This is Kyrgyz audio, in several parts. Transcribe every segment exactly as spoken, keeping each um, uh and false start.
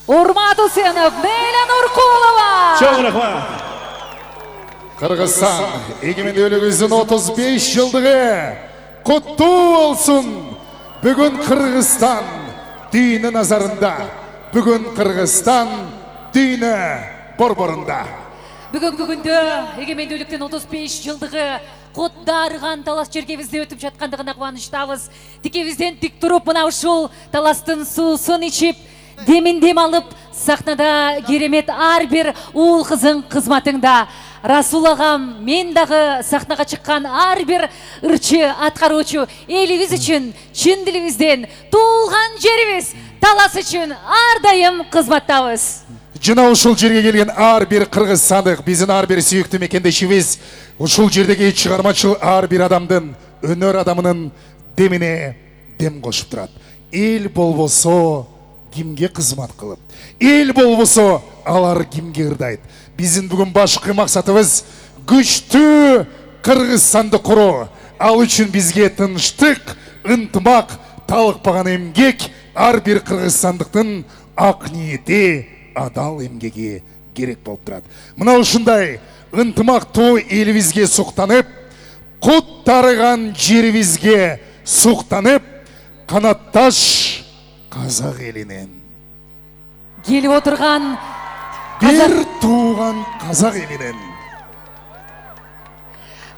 Урмат Усенов, Нейла Нуркулова. Чоң рахмат. Кыргызстан эгемендүүлүгүбүздүн отуз беш жылдыгы куттуу болсун. Бүгүн Кыргызстан дүйнө назарында. Бүгүн Кыргызстан дүйнө борборунда. Бүгүнкү күндө эгемендүүлүктүн отуз беш жылдыгы кот дарыган талас жергебизде өтүп жаткандыгына кубанычтабыз. Тикебизден тик туруп мына ушул таластын суусун ичип, демин дем алып, сахнада керемет ар бир уул кыздын кызматыңда. Расул агам, мен дагы сахнага чыккан ар бир ырчы аткаруучу элибиз үчүн чын дилибизден туулган жерибиз талас үчүн ар дайым кызматтабыз. Жана ушул жерге келген ар бир кыргызстандык, биздин ар бир сүйүктүү мекендешибиз, ушул жердеги чыгармачыл ар бир адамдын, өнөр адамынын демине дем кошуп турат. Эл болбосо кимге кызмат кылып? Эл болбосо алар кимге ырдайт? Биздин бүгүн башкы максатыбыз күчтүү Кыргызстанды куруу. Ал үчүн бизге тынчтык, ынтымак, талыкпаган эмгек, ар бир кыргызстандыктын ак ниети, адал эмгеги керек болуп турат. Мына ушундай ынтымактуу элибизге суктанып, кут тарыган жерибизге суктанып, канатташ казак элинен келип отурган бир тууган казак элинен.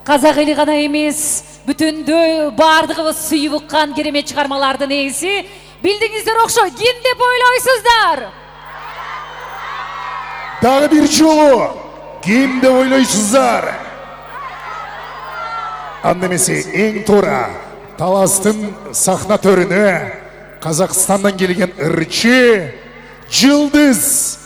Казак эли гана эмес, бүтүндөй бардыгыбыз сүйүп уккан керемет чыгармалардын ээси. Билдиңиздер окшойт, ким деп ойлойсуздар? Дагы бир жолу ким деп ойлойсуздар? Анда эмесе эң туура таластын сахна төрүнө Казакстандан келген ырчы Жылдыз